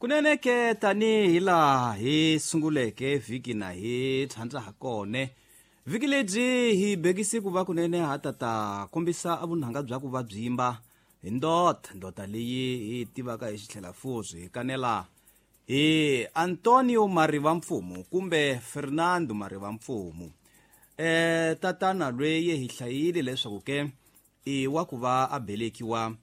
Kunene ke tanihi laha hi sunguleke vhiki na hi tshandza ha kone vhiki lebyi hi bekisi ku va kunene ha tata kombisa vunhanga bya ku va byimba hi ndota ndota leyi hi tivaka hi xitlhela fuzi hi kanela hi Antonio Mariva Mfumo kumbe Fernando Mariva Mfumo. Tatana lweyi hi hlayile leswaku ke i wa ku va a belekiwa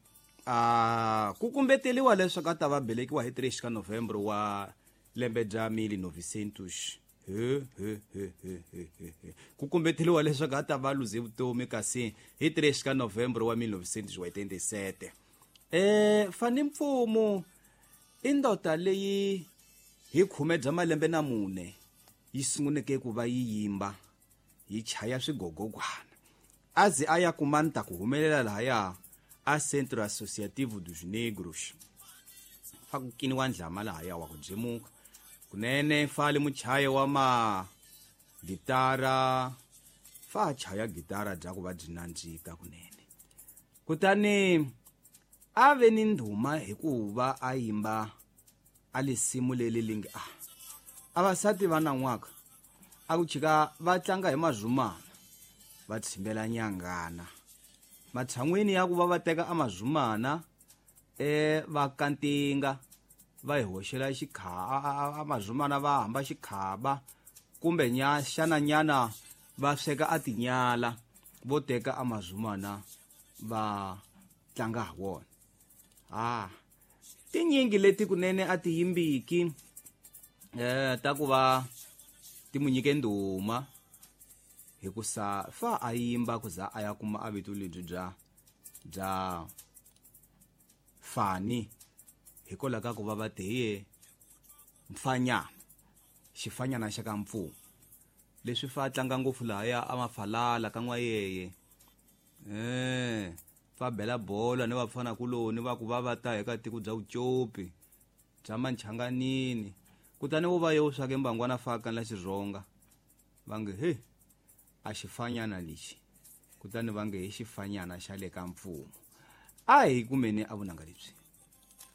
a ku kumbeteliwa leswaku a ta va belekiwa hi 3 ka November wa lembe bya 1900 he he he he he he he ku kumbeteliwa leswaku a ta va luze vutomi kasi hi 3 ka November wa 1987. Fani Mfumo i ndota leyi hi khume bya malembe na mune yi sunguleke ku va yi yimba yi chaya swigogogwana a ze a ya kuma nta ku humelela lahaya a Centro Associativo dos Negros fa ku kiniwa ndlama lahaya wa ku byemuka kunene fa le muchayi wa ma gitara fa a chaya gitara bya ku va byi nandzika kunene kutani a ve ni ndhuma hi ku va a yimba a lisimu leli lingi a avasati va nan'waka a ku chika va tlanga hi mazumana va tshimbela nyangana matshan'wini ya ku va va teka amazumana va kantinga va hi hoxela amazumana va hamba xikhaba kumbe xana nyana va sweka a tinyala vo teka amazumana va tlanga ha wona. Tinyingi leti kunene a ti yimbiki ta ku va ti mu nyike ndhuma hikusa fa a yimba ku za a ya kuma a vito lebyi bya bya Fani hikwalaho ka ku va va te hi mfanyana xifanyana xa ka Mfumo leswi fa tlanga ngopfu lahaya a mafalala ka n'wayeye fa bela bolo ni vafana kuloni va ku va va ta eka tiko bya Vucopi bya Manchanganini kutani wo va yo swake mbangwana fa kanla xirhonga va nge he a xifanyana lexi kutani va nge hi xifanyana xa le ka Mfumo. A hi kumeni a vunanga lebyi.